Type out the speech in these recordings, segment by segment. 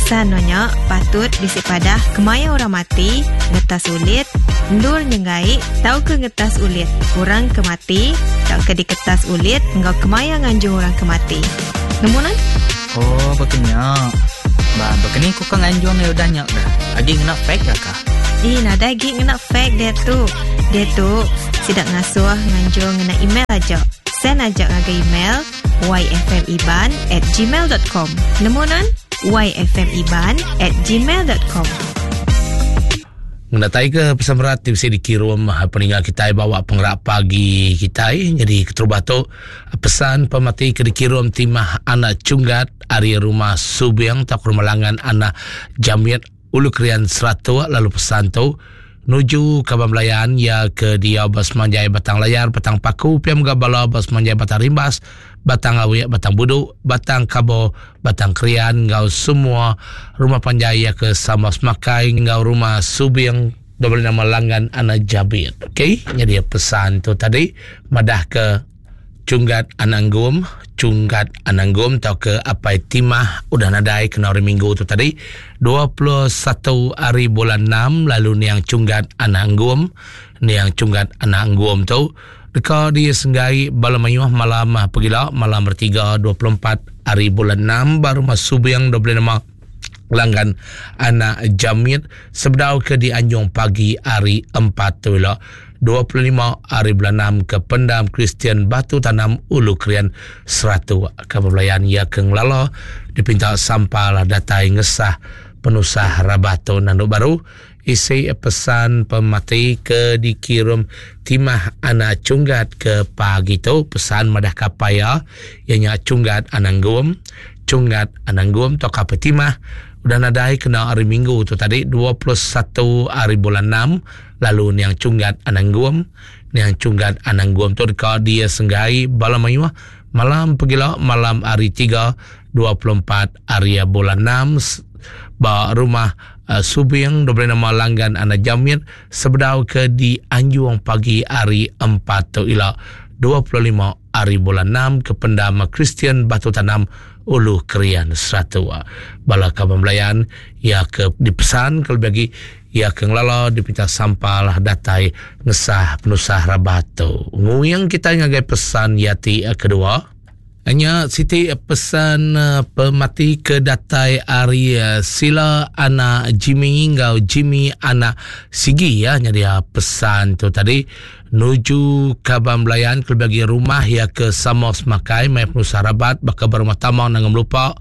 Pesan nuan nya patut bisi padah kemaya orang mati, ngetas ulit, endur nyenggai tauka ngetas ulit orang ke mati tauka diketas ulit enggau kemaya nganjung orang ke mati. Nemu nuan? Oh, baka nya. Ba, baka ni ku ka nganjung iya udah nya kah? Agi ngena fax ga kah? Ih, nadai agi ngena fax diatu. Diatu, sida ngasuh nganjung ngena email aja. Send aja ngagai email yfmiban at gmail dot com. Nemu nuan? yfmiban at gmail dot com. Ngenatai ke pesan berat ti bisi dikirum peninga kitai bawa pengerak pagi kitai. Jadi keterubah tu pesan pemati ke dikirum Timah Anak Chunggat ari Rumah Subing tauka Rumah Langan Anak Jamit Ulu Krian Seratuk lalu pesan tu nuju kaban belayan iya ke diau ba Semanjai Batang Layar, Batang Paku, pia mega bala ba Semanjai Batang Rimbas, Batang Awik, Batang Budu, Batang Kabo, Batang Krian enggau semua rumah panjai iya ke sama semakai enggau rumah Subing diberi nama Langgan Anak Jabit. Okey, nyadi pesan tu tadi madah ke Chunggat Anak Enggum, Chunggat Anak Enggum tauka Apai Timah udah nadai kena hari Minggu tu tadi, 21 hari bulan 6 lalu niang Chunggat Anak Enggum, niang Chunggat Anak Enggum tu deka disenggai bala mayuh malam pegila malam bertiga 24 hari bulan 6 ba rumah Subing 25 Langgan Anak Jamit sebedau ke dianjung pagi hari 4 tu ila. 25 ari bulan 6 ke Pendam Kristian Batu Tanam Ulu Krian Seratuk ke bebelayan iya ke ngelala dipinta sampal datai ngesah penusah rabah tu nandu baru isi pesan pemati ke dikirum Timah anak Chunggat ke pagi tu pesan madah kapai iya iya nya Chunggat anak Enggum Chunggat anak Enggum tauka apai Timah udah nadai kena hari Minggu tu tadi 21 ari bulan 6 Lalu niang Chunggat Anang Gum. Niang Chunggat Anang Gum tu deka disenggai bala mayuh malam pegila malam hari tiga 24 hari bulan 6 ba rumah Subing diberi nama Langgan Anak Jamit sebedau ke dianjung pagi hari 4 tu ila 25 hari bulan 6 ke pendam Kristian Batu Tanam Ulu Krian Seratuk. Bala kaban belayan iya ke dipesan ke lebih agi Iya ke ngelala dipinta sampal datai ngesah penusah rabat tu. Nguing kitai ngagai pesan iya ti kedua. Nya siti pesan pemati ke datai ari Sila anak Jimmy enggau Jimmy anak Sigi ya nyadi pesan tu tadi nuju kaban belayan kelebih agi rumah iya ke sama semakai mai penusah rabat baka ba rumah Tamang Nanga Melupa,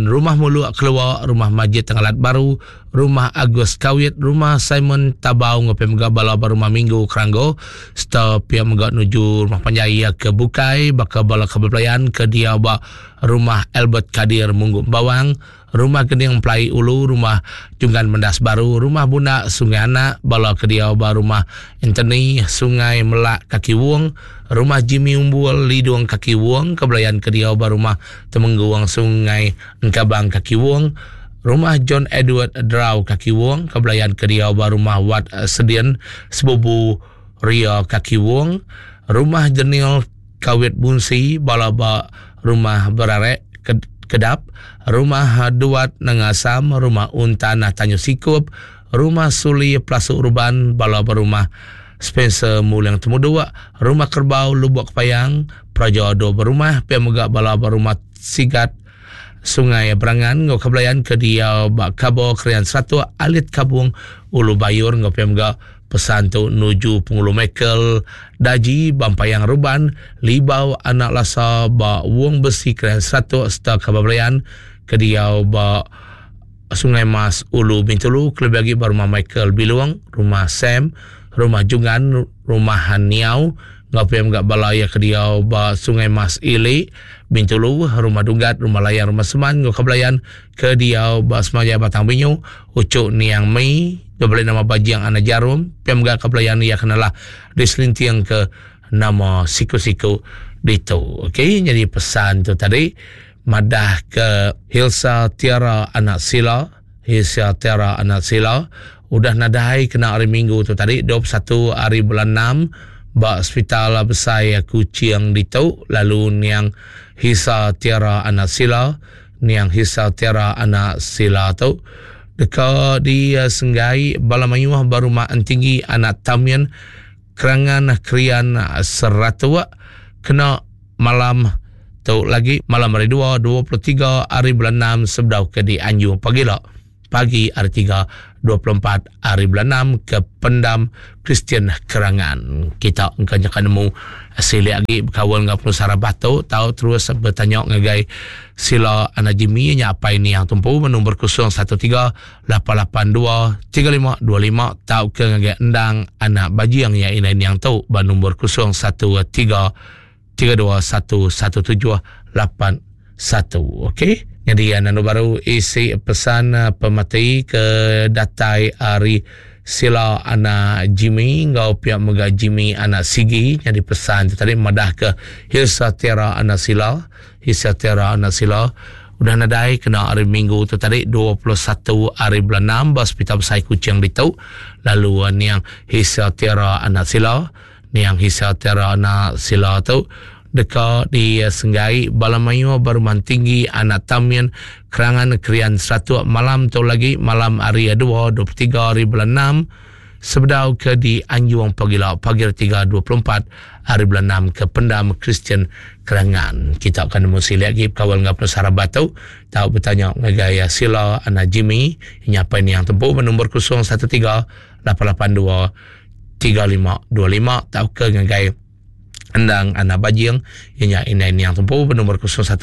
rumah Muluk Kelua, rumah Majid Tengalat Baru, Rumah Agus Kawit, Rumah Simon Tabau enggau pia mega bala ba Rumah Minggu Keranggo sereta pia mega nuju rumah panjai iya ke bukai baka bala kaban belayan ke diau ba Rumah Albert Kadir Munggu Bawang, Rumah Gening Emplai Ulu, Rumah Junggan Mendas Baru, Rumah Bundak Sungai Anak, bala ke diau ba Rumah Anthony Sungai Melak Kaki Wong, Rumah Jimmy Umbul Lidung Kaki Wong, ke belayan ke diau ba Rumah Temenggung Sungai Engkabang Kaki Wong, Rumah John Edward Drau Kaki Wong ke belayan ke diau ba Rumah Wat Sedin Sebubu Ria Kaki Wong, Rumah Jenil Kawit Bunsi bala ba Rumah Berarek Kedap, Rumah Duat Nanga Asam, Rumah Untan Tanjung Sikup, Rumah Suli Pelasuk Ruban bala ba Rumah Spencer Muling Temuduk, Rumah Kerbau Lubok Kepayang, Peraja Dua Berumah pia mega bala ba Rumah Sigat Sungai Berangan enggau Kebelayan ke diau ba Kabo Krian Seratuk Alit Kabung Ulu Bayur enggau pia mega pesan tu nuju Pengulu Michael Daji ba Empayang Ruban Libau Anak Lasa ba Wong Besi Krian Seratuk sereta Kabo Belayan ke diau ba Sungai Mas Ulu Bintulu kelebih agi ba Rumah Michael Bilung, Rumah Sam, Rumah Jungan, Rumah Niau enggau pia mega bala iya ke diau ba Sungai Mas Ili, Bintulu, Rumah Dunggat, Rumah Layang, Rumah Seman enggau Kebelayan ke diau ba Semanjai Batang Binyu, Uchu Niang Mei, diberi nama Bajing Anak Jarum, pia mega Kebelayan iya ke nelah diselinting ke nama siku-siku ditu. Okey, nyadi pesan tu tadi madah ke Hilsa Tiara Anak Sila, Hilsa Tiara Anak Sila udah nadai kena hari Minggu tu tadi 21 hari bulan 6 ba Sepital Besai Kuching ditu lalu niang Hilsa Tiara Anak Sila. Niang Hisa Tiara anak Sila tu deka disenggai bala mayuh ba Rumah Entinggi anak Tamin Kerangan Krian Seratuk kena malam tu lagi malam hari 2 23 hari bulan 6 sebedau ke dianjung pagila pagi hari 3 24 hari bulan 6 ke Pendam Kristian Kerangan. Kita engka nyaka nemu silik agi bekaul enggau penusah rabah tu tau terus betanya ngagai sila anak Jimmy nya apai niang tumpu nombor 013 882 3525 tauka ngagai endang anak bajing ya indai niang tu ba nombor 013 321 1781. Okey. Jadi anu baru isi pesan eh, pemati ke datai ari sila anak Jimmy enggau pihak mega Jimmy anak Sigi jadi pesan tu tadi madah ke Hilsa Tiara anak Sila Hilsa Tiara anak Sila udah nadai kena hari Minggu tu tadi 21 hari bulan 6 ba Hospital Besai Kuching ditu lalu eh, niang Hilsa Tiara anak Sila Niang Hisa Tera anak Sila tu deka disenggai bala mayuh ba Rumah Tinggi Anak Tamin Kerangan Krian Seratuk malam tu lagi malam hari 2 23 hari bulan 6 sebedau ke di Anjung pagila pagi 3 24 hari bulan 6 ke Pendam Kristian Kerangan. Kita akan nemu silik lagi kawal ngau penusah rabat tu. Tau bertanya ngagai Sila anak Jimmy nyapai niang tempu nombor 013 882 3525 tauka ngagai Endang Anak Bajing iya nya indai niang tempu benombor 013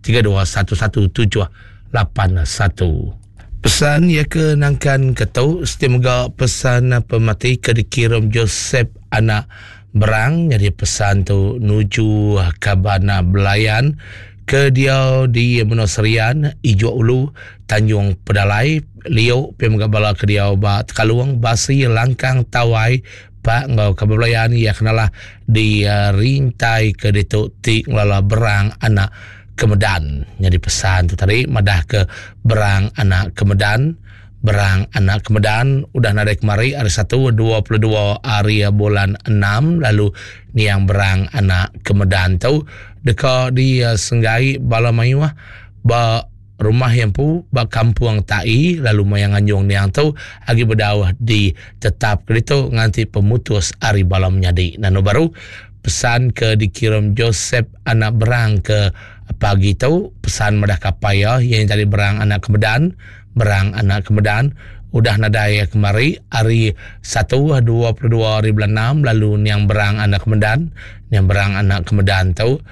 3211 781. Pesan iya ke nangkan ke tu siti mega pesan pemati ke dikirum Joseph Anak Berang nyadi pesan tu nuju kaban belayan ke diau di menua Serian, Ijok Ulu, Tanjung Pedalai, Liu pia mega bala ke diau ba Tekalung, Basi, Langkang, Tawai, Pak enggau kaban belayan iya kenalah di rintai ke ditu ti ngelala Berang Anak Kemedan. Nyadi pesan tu tadi madah ke Berang Anak Kemedan Berang Anak Kemedan udah nadai kemari hari Satu 22 hari bulan 6 lalu niang Berang Anak Kemedan tu deka disenggai bala mayuh ba rumah iya empu ba Kampung Tai lalu maya nganjung niang tu agi bedau ditetap ke ditu nganti pemutus ari bala menyadi. Nanu baru pesan ke dikirum Joseph Anak Berang ke pagi tu pesan madah kapai iya iya tadi Berang Anak Kemedan Berang Anak Kemedan udah nadai kemari hari Satu 22 hari bulan 6 lalu niang Berang Anak Kemedan niang Berang Anak Kemedan tu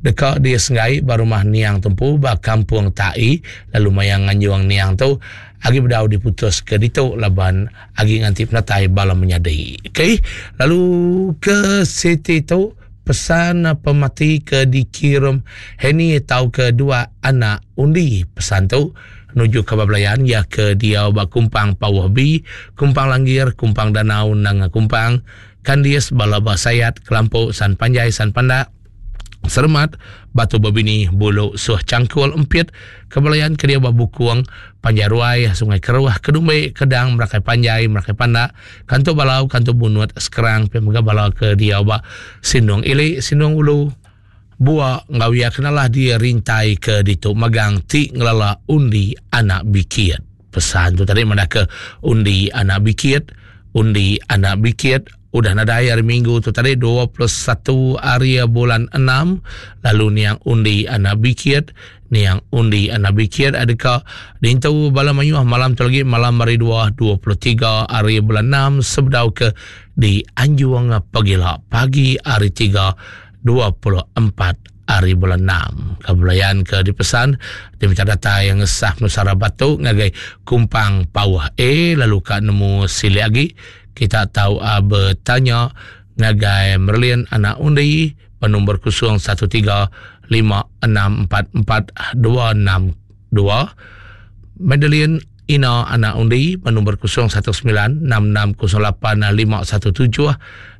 deka disenggai ba rumah niang tempu ba Kampung Tai lalu maya nganjung niang tu agi bedau diputus ke ditu laban agi nganti penatai bala menyadi. Okey, lalu ke siti tu pesan pemati ke dikirum Henny tauka dua anak undi pesan tu nuju ke belayan ya ke diau ba Kumpang Pauh B, Kumpang Langgir, Kumpang Danau, Nanga Kumpang, Kandis, Bala Ba Sayat, Kelampu, San Panjai, San Pandak, Seremat, Batu Bebini, Bulu, Suh Cangkul, Empit, Kebelayan ke diau ba Bukung, Panjai Ruai, Sungai Keruh, Kedumbe, Kedang, Merakai Panjai, Merakai Pandak, Kantu Balau, Kantu Bunut, Sekerang, pia mega bala ke diau ba Sindung Ili, Sindung Ulu, Bua enggau iya kenalah di rintai ke ditu magang ti ngelala undi anak bikit. Pesan tu tadi madah ke undi anak bikit, undi anak bikit udah nadai hari minggu tu tadi 21 hari bulan 6 lalu niang undi anak bikit niang undi anak bikit adeka dintu bala mayuh malam tu lagi malam hari 2 23 hari bulan 6 sebedau ke di anjung pagila pagi hari 3 24 hari bulan 6. Kebelayan ke dipesan diminta data yang ngesah Nusara Batu ngagai Kumpang Pauh A lalu ka nemu silik agi kita tahu uh, bertanya ngagai Merlin anak undi bernombor 013 5644 262 Madeline Ina anak undi bernombor 019 6608 517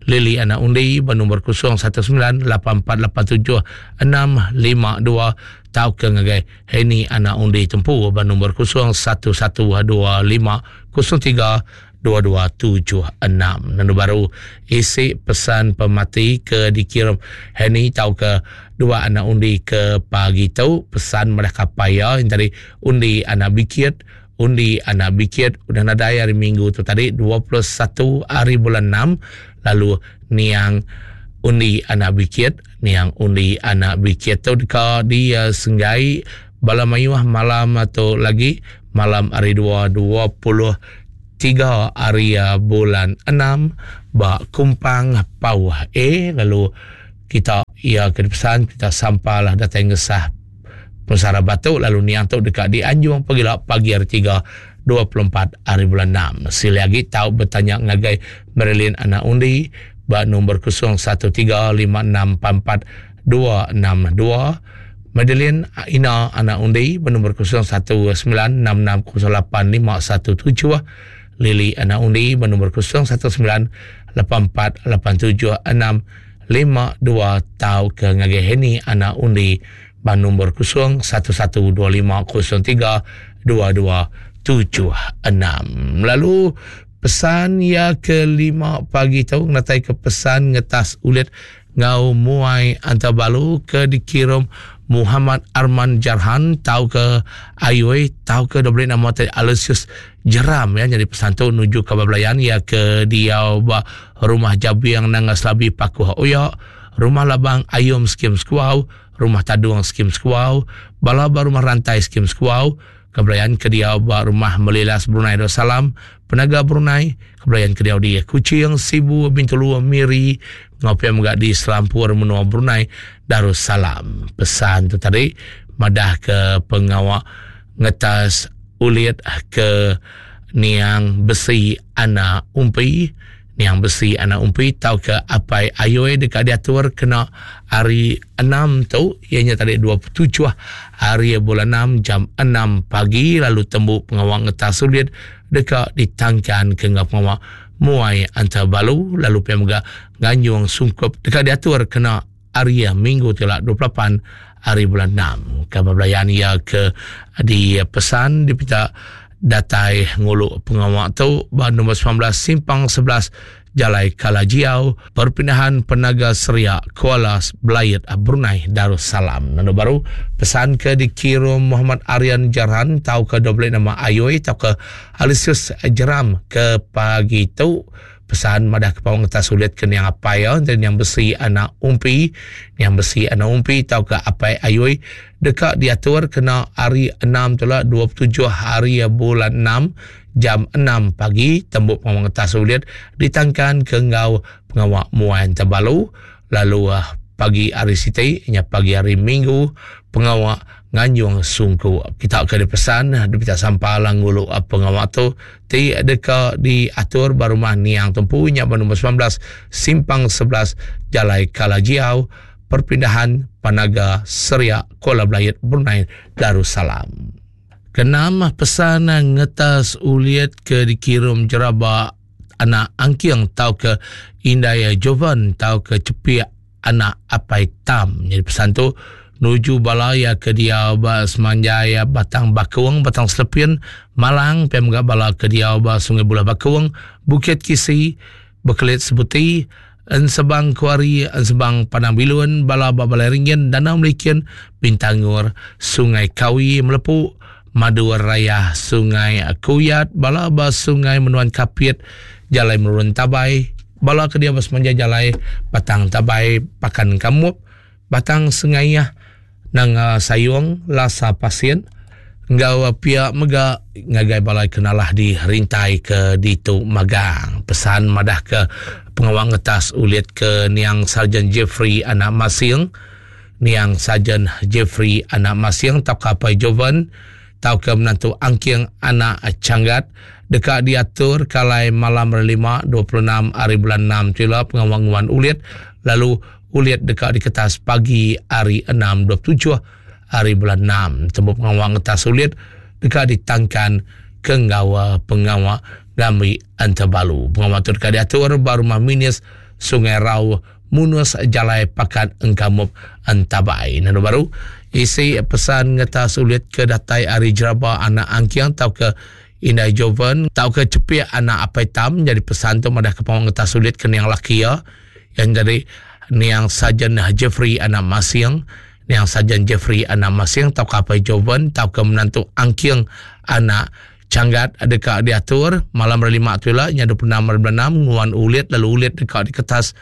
Lily anak undi bernombor 019 8487 652 tauka ngagai Henny anak undi tempu bernombor 011 25 03 2276. Nanu baru isi pesan pemati ke dikirim Henny tauka. dua anak undi ke pagi tu pesan madah kapai iya yang tadi undi anak bikit undi anak bikit udah nadai hari minggu tu tadi 21 hari bulan 6 lalu niang undi anak bikit niang undi anak bikit tu deka di uh, senggai bala mayuh malam tu lagi malam hari 2 20 tiga hari uh, bulan 6 ba Kumpang Pauh A lalu kita ia ke dipesan kita sampalah datai ngesah pesara batu lalu niang tu deka dianjung pagila pagi hari 3 24 hari bulan 6. Sili agi tau bertanya ngagai Marilyn Anak Undi ba nombor 0135644262 Madeline Ina Anak Undi bernombor 0196608517 Lily Anak Undi bernombor 0198487652 tau ke ngagai Henny Anak Undi bernombor 0112503276. Lalu pesan ya ke lima pagi tu ngatai ke pesan ngetas ulit Ngau muai antabalu ke dikirum Muhammad Arman Jarhan tau ke Ayoi tau ke diberi nama tadi Aloysius Jeram ya jadi pesan tu nuju ke belayan ya ke diau ba rumah Jabiang Nanga Selabi Pakuh Oya rumah Labang Ayum Skim Sekuau rumah Tadung Skim Sekuau bala ba rumah Rantai Skim Sekuau Kebelayan ke diau ba Rumah Melilas Brunei Darussalam, Penaga Brunei, Kebelayan ke diau di Kuching, Sibu, Bintulu, Miri, enggau pia mega di selampur menua Brunei Darussalam. Pesan tu tadi madah ke pengawa ngetas ulit ke niang besi anak umpi Niang Besi anak Umpi tauka Apai Ayoi deka diatur kena hari enam tu iya nya tadi 27 hari bulan enam jam enam pagi lalu tembu pengawa ngetas sulit deka ditangkan ke enggau pengawa muai antabalu lalu pia mega nganjung sungkup deka diatur kena hari minggu ti la 28 hari bulan enam. Kaban belayan iya ke dipesan dipinta datai ngulu pengawa tu ba nombor 19 simpang 11 Jalai Kalajiau, Perpindahan Penaga Seria, Kuala Belait, Brunei Darussalam. Lalu baru pesan ke dikirum Muhammad Aryan Jarhan tau ke dua nama Ayoi tau ke Alisius Jeram ke pagi tu Pesan madah ke paung ngetas sulit ke niang apai iya enti niang besi anak umpi. Niang besi anak umpi tauka apai ayui deka diatur kena hari enam tu la 27 hari bulan enam jam enam pagi tembu pengawa ngetas sulit ditangkan ke enggau pengawa muai tebalu lalu pagi hari siti nya pagi hari minggu pengawa nganjung sungku. Kita ke dipesan dipinta sampal ngulu pengawa tu ti deka diatur ba rumah Niang Tempu nya ba nombor 19 Simpang 11 Jalai Kalajiau Perpindahan Panaga Seria Kuala Belait Brunei Darussalam. Keenam, pesan ngetas ulit ke dikirum jeraba anak angking tauka indai Jovan tauka cepik anak apai Tam. Jadi pesan tu nuju bala iya ke diau ba semanjai Batang Bakung, Batang Selepin, Malang, pia mega bala ke diau ba Sungai Bulah Bakung, Bukit Kisi, Bekelit Sebuti, Ensebang Kuari, Ensebang Padang Bilun, bala ba Balai Ringin, Danau Melikin, Bintangor, Sungai Kawi, Melepu, Madu Raya, Sungai Kuyat, bala ba Sungai Menuan Kapit, Jalai Merurun Tabai, bala ke diau ba semanjai jalai Batang Tabai, Pakan Kamup, Batang Sengayah, Nanga Sayong, Lasa Pasin, enggau pia mega ngagai bala ke nalah di rintai ke ditu magang. Pesan madah ke pengawa ngetas ulit ke niang Sarjan Jeffrey anak Masing, Niang Sarjan Jeffrey anak Masing tauka Apai Jovan tauka menantu Angking anak Changgat deka diatur kalai malam hari Lima 26 hari bulan enam tu ila pengawa nguan ulit lalu ulit deka diketas pagi hari enam 27 hari bulan enam. Tembu pengawa ngetas ulit deka ditangkan ke enggau pengawa ngambi entebalu. Pengawa tu deka diatur ba Rumah Minis Sungai Rau Munus Jalai Pakat Engkamup Entabai. Nanu baru isi pesan ngetas ulit ke datai ari Jeraba anak Angking tauka Indai Jovan tauka Cepik anak Apai Tam jadi pesan tu madah ke pengawa ngetas ulit ke niang laki iya yang jadi. Niang Sarjan Jeffrey anak Masing, Niang Sarjan Jeffrey anak Masing tauka Apai Jovan tauka menantu Angking anak Changgat deka diatur malam hari lima tu ila nya 26 hari bulan enam nguan ulit lalu ulit deka diketas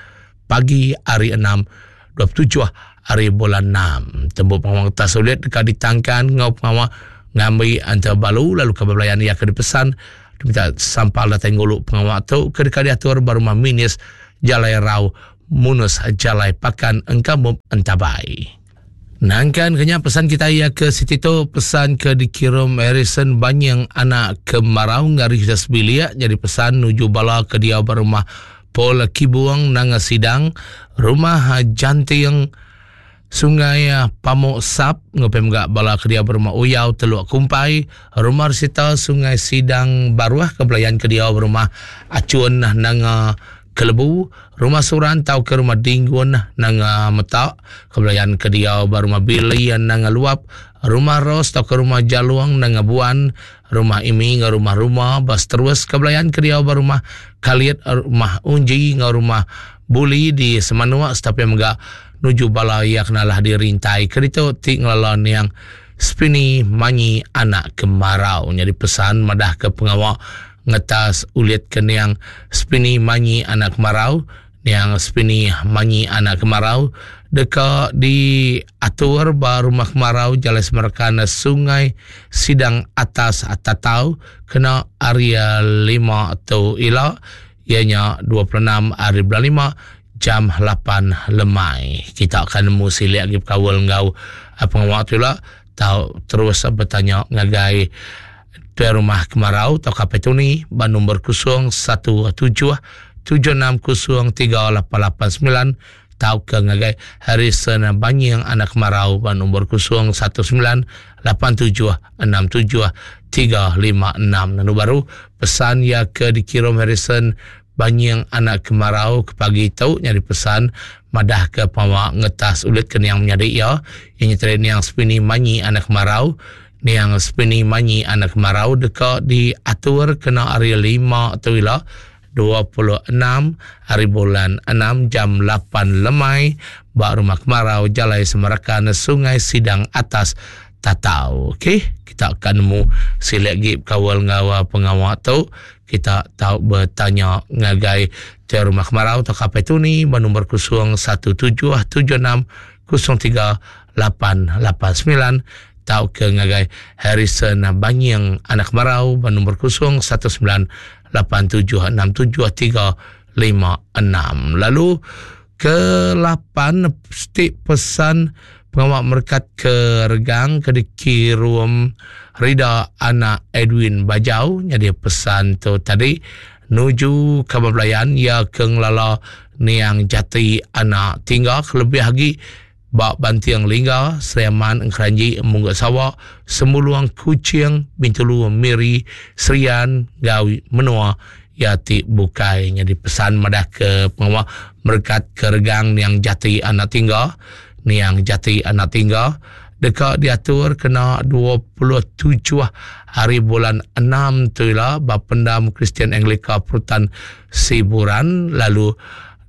pagi hari enam 27 hari bulan enam. Tembu pengawa ngetas ulit deka ditangkan enggau pengawa ngambi antara balu lalu kaban belayan iya ke dipesan diminta sampal datai ngulu pengawa tu ke deka diatur ba rumah Minis Jalai Rau Munus Jalai Pakan Engkamop Entabai. Nangkan ke nya pesan kita iya ke siti tu pesan ke dikirum Harrison Banying anak Kemarau ngari kita sebilik jadi pesan nuju bala ke diau ba rumah Paul Kibung Nanga Sidang rumah Janting Sungai Pamuk Sap ngupi mega bala ke diau ba rumah Uyau Teluk Kumpai rumah Resita Sungai Sidang Baruh ke belayan ke diau ba rumah Achun Nanga Kelebu, Rumah Suran tauka Rumah Dinggun Nanga Meta, Kebelayan ke diau ba Rumah Billy Nanga Luap, Rumah Ros tauka Rumah Jalung Nanga Buan, Rumah Imi enggau Rumah Ruma ba seterus Kebelayan ke diau ba Rumah Kalit, Rumah Unji enggau Rumah Buli di Semanuk sereta pia mega nuju bala iya ke nalah dirintai ke ditu ti ngelala niang Spini Manyi Anak Kemarau. Nyadi pesan madahka pengawa Ngetas ulit ke niang Spini Manyi anak Kemarau, niang Spini Manyi anak Kemarau deka diatur ba Rumah Kemarau Jalai Semerkan Sungai Sidang Atas Tatau kena hari lima tu ila iya nya 26 hari bulan lima jam lapan lemai. Kita akan nemu silik agi bekaul enggau pengawa tu ila tau terus betanya ngagai Tuai Rumah Kemarau tauka Petuni ba nombor 017 760 3889 tauka ngagai Harrison Banying anak Kemarau ba nombor 019 87 67 356. Lalu baru pesan iya ke dikirum Harrison Banying anak Kemarau ke pagi tu nyadi pesan madah ke pengawa ngetas ulit ke niang menyadi iya iya nyeteri niang Spini Manyi anak Kemarau Niang Spini Manyi anak Kemarau deka diatur kena hari lima tu ila 26 hari bulan enam jam lapan lemai ba Rumah Kemarau Jalai Semerakan Sungai Sidang Atas Tatau. Okey, kita akan nemu silik agi bekaul enggau pengawa tu. Kita tau betanya ngagai Tuai Rumah Kemarau tauka Apai Tuni ba nombor 017 76 03 889 tauka ngagai Harrison Banying anak Marau ba nombor 0 19 87 67 3 5 6. Lalu ke 8 stik pesan pengawa merekat ke regang ke dikirum Rida anak Edwin Bajau nyadi pesan tu tadi nuju kaban belayan iya ke ngelala niang jati anak tingga kelebih agi Ba Banting Lingga, Sri Aman, Engkeranji, Mungga Sawa, Semulung, Kuching, Bintulu, Miri, Serian enggau menua iya ti bukai. Nyadi pesan madah ke pengawa merekat ke regang niang jati anak tingga, niang jati anak tingga deka diatur kena 27 hari bulan enam tu ila ba Pendam Kristian Anglika Perutan Siburan lalu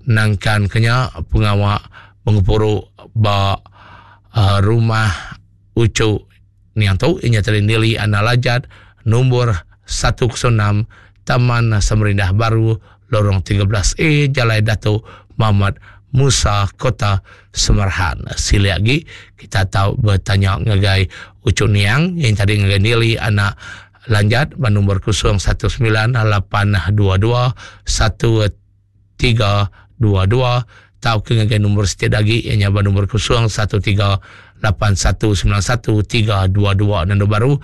nangkan ke nya pengawa Bengempuru ba rumah uchu niang tu iya nya tadi Nili Anak Lajat nombor 106 Taman Samarindah Baru Lorong 13 A Jalai Dato Muhammad Musa Kota Semarahan. Silik agi kita tau betanya ngagai uchu niang iya nya tadi ngagai Nili Anak Lanjat ba nombor 019 822 1 322 tauka ngagai nombor siti agi iya nya ba nombor 013 8191 322 Nanda baru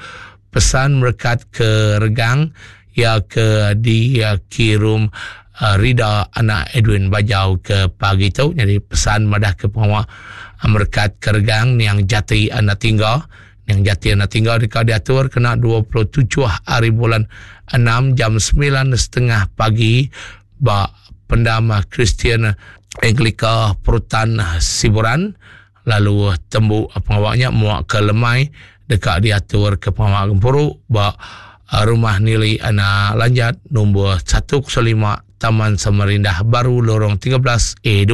pesan merekat ke regang iya ke dikirum uh, Rida anak Edwin Bajau ke pagi tu nyadi pesan madah ke pengawa merekat ke regang niang jati anak tingga niang jati anak tingga deka diatur kena 27 hari bulan 6 jam 9.30 pagi ba Pendam Kristian Anglika Perutan Siburan lalu tembu pengawa nya muak ke lemai deka diatur ke pengawa gempuru ba Rumah Nili Anak Lanjat nombor 105 Taman Samarindah Baru Lorong 13 A2.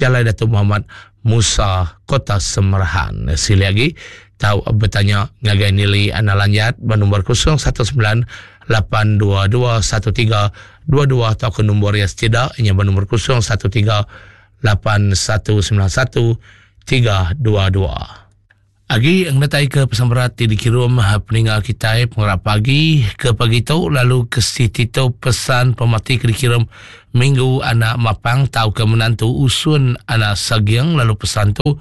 Jalai Datuk Muhammad Musa Kota Semerahan. Sili agi tau betanya ngagai Nili Anak Lanjat ba nombor 019 822 1322 atau ke nombor yang setidak inya ba nombor 013 8191 322. Agi ngenatai ke pesan berat ti dikirum peninga kitai pengarap pagi ke pagi tu lalu ke siti tu pesan pemati ke dikirum minggu anak mapang tauka menantu usun anak saging lalu pesan tu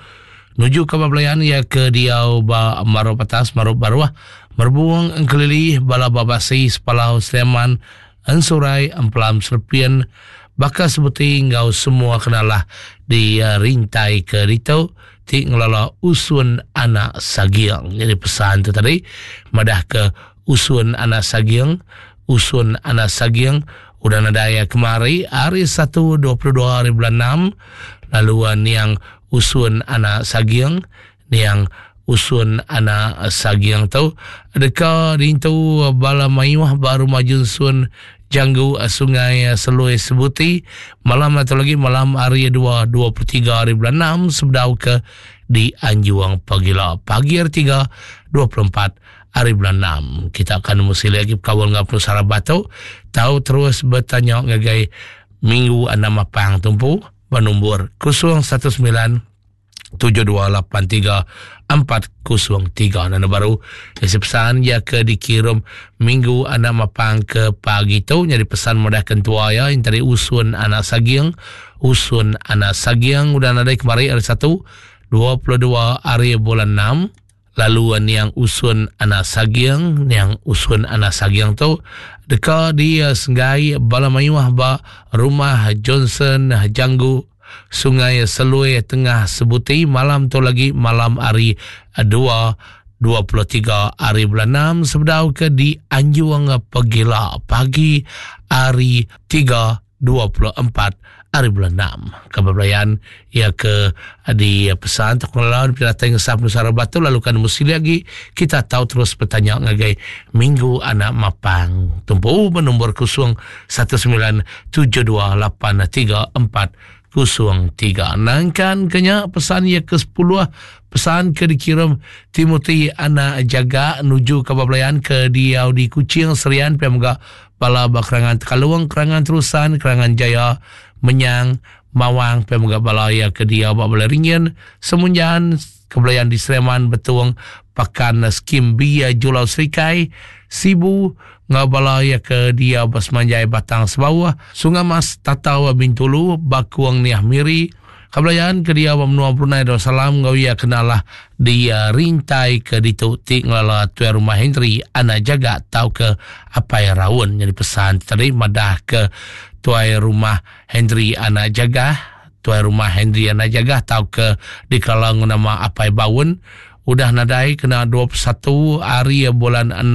nuju ke belayan iya ke diau ba Marup Atas Marup Baruh Merbung Engkelili bala ba Basi Sepalau Sleman Ensurai Empelam Serpin baka sebuti enggau semua kenalah di rintai ke ditu ti ngelala usun anak saging. Jadi pesan tu tadi madah ke usun anak saging, usun anak saging udah nadai kemari hari 1 22 hari bulan 6 lalu uh, niang usun anak saging niang usun anak saging tu deka dintu bala mayuh ba rumah Junsun Janggu Sungai Selui Sebuti malam atau lagi malam hari 2 23 hari bulan 6 sebedau ke di Anjuang Pagila pagi hari 3 24 hari bulan 6 kita akan mesti lagi berkawal dengan Penusara Batu tahu terus bertanya ngagai Minggu Enam Mapang Tumpu bernombor 019 7283403 dan baru isi pesan ya ke dikirim minggu anak mapang ke pagi tu jadi pesan mudah kentua ya yang tadi usun anak saging usun anak saging udah nadai kemari hari 1 22 hari bulan 6 lalu niang usun anak saging niang usun anak saging tu deka di senggai bala mayuh ba rumah Johnson Janggu Sungai Selui Tengah Sebuti malam tu lagi malam hari 2 23 hari bulan 6 sebedau ke di Anjung Pegila pagi hari 3 24 hari bulan 6. Kabar belayan ia ke di pesan terkenal di datang ngesap Nusara Batu lalu kan mesti lagi kita tahu terus bertanya ngagai Minggu Anak Mapang. Tumpu bernombor 0 197283 403. Nangkan kenya pesan ia ke 10 pesan ke dikirim Timothy Anak Jaga nuju kabar belayan ke diau di Kuching Serian pia mega bala ba Kerangan Tekalung, Kerangan Terusan, Kerangan Jaya, Menyang, Mawang, pia mega bala iya ke diau ba Balai Ringin, Semunjan, Kebelayan di Sleman, Betong, Pakan, Skim B, Julau Serikai, Sibu, enggau bala iya ke diau ba Semanjai Batang Sebauh, Sungai Mas, Tatau, Bintulu, Bakung Niah Miri, Kebelayan ke diau ba menua Brunei Darussalam enggau iya ke nalah di rintai ke ditu ti ngelala Tuai Rumah Henry Anak Jaga tauka Apai Raun. Nyadi pesan ti tadi madah ke Tuai Rumah Henry Anak Jaga, Tuai Rumah Henry Anak Jaga tauka dikelala enggau nama Apai Baun udah nadai kena 21 hari bulan 6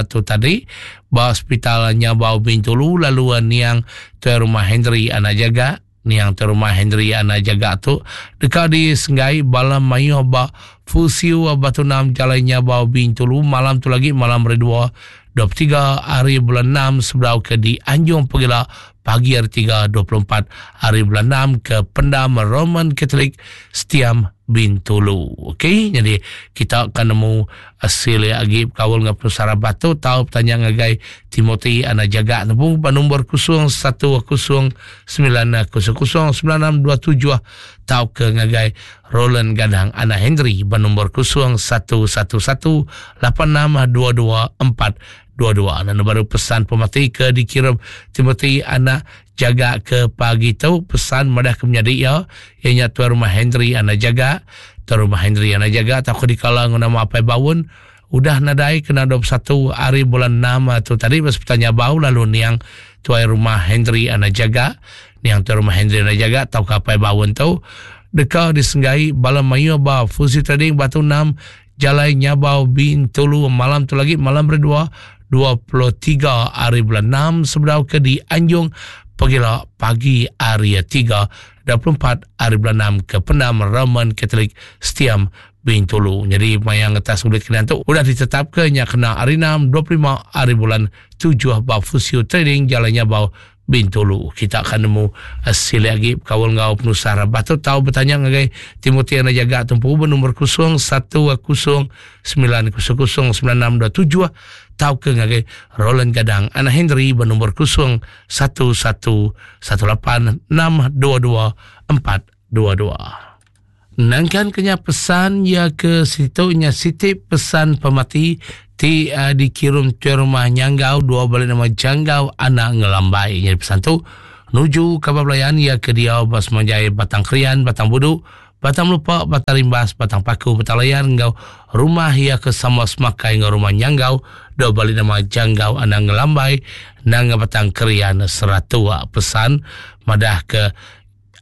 tu tadi ba Sepital Nyabau Bintulu lalu niang Tuai Rumah Henry Anak Jaga Niang tu rumah Henry Anak Jaga tu deka disenggai bala mayuh ba Fusiu Batu Enam Jalai Nyabau Bintulu malam tu lagi malam hari 2 23 hari bulan 6 sebedau ke di Anjung Pegila pagi hari 3 24 hari bulan 6 ke Pendam Roman Catholic Setiam Bintulu. Okey, jadi kita akan nemu Asil iya agi bekaul enggau penusah rabat tu tau betanya ngagai Timothy Anak Jaga nemu ba nombor 01 09 00 9627 tauka ngagai Roland Gadang Anak Henry ba nombor 01 11 86 22 422. Nanda baru pesan pemati ke dikirim Timothy Anak Jaga ke pagi tu pesan madah ke menyadi iya iya nya tuan rumah Henry Anak Jaga. Tuan rumah Henry Anak Jaga tauka dikala enggau nama Apai Baun udah nadai kena 21 hari bulan 6 tu tadi ba sepital Nyabau lalu niang tuai rumah Henry Anak Jaga niang tuai rumah Henry Anak Jaga tauka Apai Baun tu deka disenggai bala mayuh ba Fuzi Trading Batu 6 Jalai Nyabau Bintulu malam tu lagi malam hari 2 23 hari bulan 6 sebedau ke di Anjung pagila pagi hari 3 24 hari bulan 6 ke Pendam Roman Catholic Setiam. Bintulu. Nyadi maya ngetas ulit Krian tu udah ditetapka nya kena hari 6 25 hari bulan 7 ba Fusio Trading Jalai Nyabau Bintulu. Kita akan nemu eh, silik agi bekaul enggau penusah rabah tu tau betanya ngagai Timothy Anda Jaga tumpu bernomor 0 1 0 9 0 0 9 6 2 7 tauka ngagai Roland Gadang Anak Henry bernomor 0 1 1 1 8 6 2 2 4 2 2. Nangkan kenya pesan iya ke situ nya siti pesan pemati ti uh, dikirum tuan rumah Nyanggau dua balik nama Janggau anak Ngelambai. Jadi pesan tu nuju kaban belayan iya ke diau ba semanjai Batang Krian, Batang Budu, Batang Melupa, Batang Rimbas, Batang Paku, Batang Layar enggau rumah iya ke sama semakai enggau rumah Nyanggau dua balik nama Janggau anak Ngelambai nanga Batang Krian Seratua. Pesan madah ke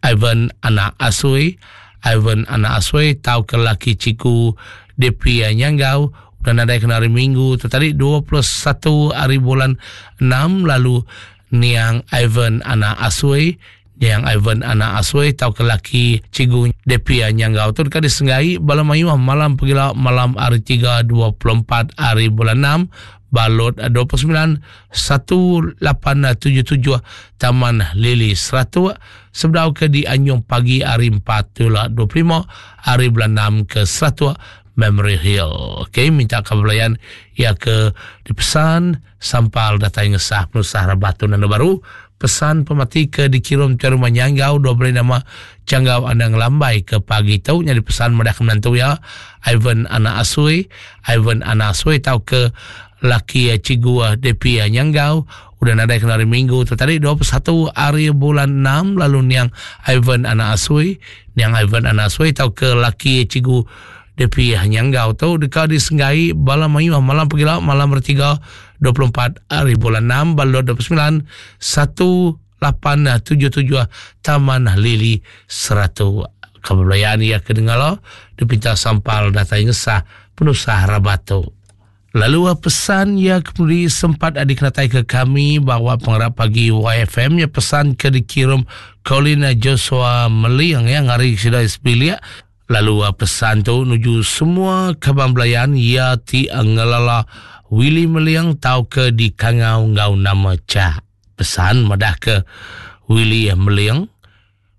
Ivan anak Asui, Ivan anak Asui tauka laki Cikgu DP Nyanggau udah nadai kena hari Minggu tu tadi 21 hari bulan 6 lalu niang Ivan anak Asui niang Ivan anak Asui tauka laki Cikgu DP Nyanggau tu deka disenggai bala mayuh malam pegila malam hari 3 24 hari bulan 6 Balot 29 1877 Taman Lili Seratuk sebedau ke di Anjung pagi hari 4 tula 25 hari bulan 6 ke Seratuk Memory Hill. Okey, minta kebelayan ia ke dipesan sampal datai ngesah penusah rabat tu nanda baru. Pesan pemati ke dikirum ke rumah Nyanggau dua beri nama Canggau Anda Ngelambai ke pagi tu nyadi pesan madah ke menantu ya Ivan Anak Asui Ivan Anak Asui tau ke laki cikgu DP Nyanggau udah nadai kena hari Minggu tu tadi 21 hari bulan 6 lalu niang Ivan Anak Asui niang Ivan Anak Asui tau ke laki cikgu DP Nyanggau tu deka disenggai bala mayuh malam pegila malam bertiga 24 hari bulan 6 balot 29 1877 Taman Lili Seratu. Kebelayaan ia kedengala dipinta sampal datai ngesah penusah rabat tu. Lalu pesan ia kemudian sempat dikenatai ke kami bahawa pengarap pagi YFM nya pesan ke dikirim Colin Joshua Meling yang hari sudah sebilik. Lalu pesan tu nuju semua kaban belayan ia ti ngelala Willy Meling tau ke dikangau ngau nama Cak. Pesan madah ke Willy Meling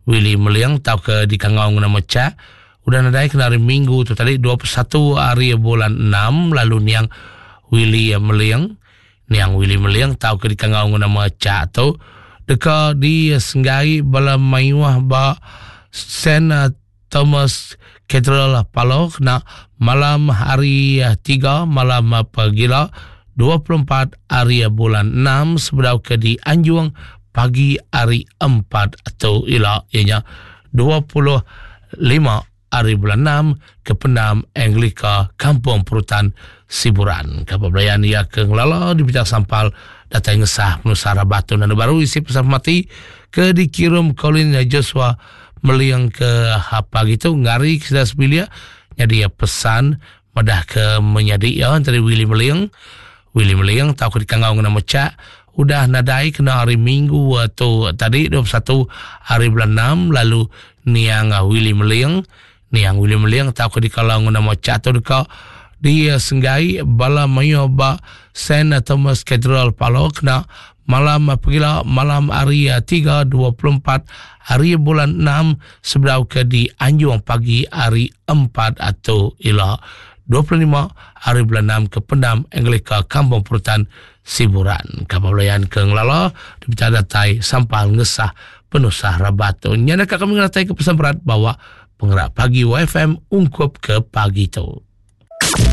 Willy Meling tauka dikangau ngena nama Chak udah nadai kena hari Minggu tu tadi 21 hari bulan 6 lalu niang Willy Meling niang Willy Meling tauka dikangau ngena nama Chak tu deka disenggai bala mayuh ba Saint Thomas Cathedral Palo kena malam hari 3 malam pagila 24 hari bulan 6 sebedau ke dianjung pagi hari 4 tu ila ianya 25 hari bulan 6 ke pendam Anglika Kampung Perutan Siburan. Kapal belayan ia ke ngelala di bidang sampal datai ngesah penusah rabat tu nanda baru isi pesan mati ke dikirim Colin Joshua Meliang ke apa gitu ngari ke sudah sebilik jadi pesan madah ke menyadi iya entara Willy Meling. Willy Meling tau ke dikangau ngena mecak udah nadai kena hari Minggu tu tadi 21 hari bulan 6 lalu niang Willy Meling niang Willy Meling tau ke dikalau ngena mecak tu deka disenggai bala mayuh ba Saint Thomas Cathedral Palo kena malam pegila malam hari 3 24 hari bulan 6 sebedau ke di Anjung pagi hari 4 atau ila 25 hari bulan 6 ke Pendam Anglika Kampung Perutan Siburan. Kapal belayan ke Ngelala dipecah datai sampal ngesah penusah rabat tu. Nyana kami ngeratai ke pesan berat bawa pengerak pagi YFM ungkup ke pagi tu.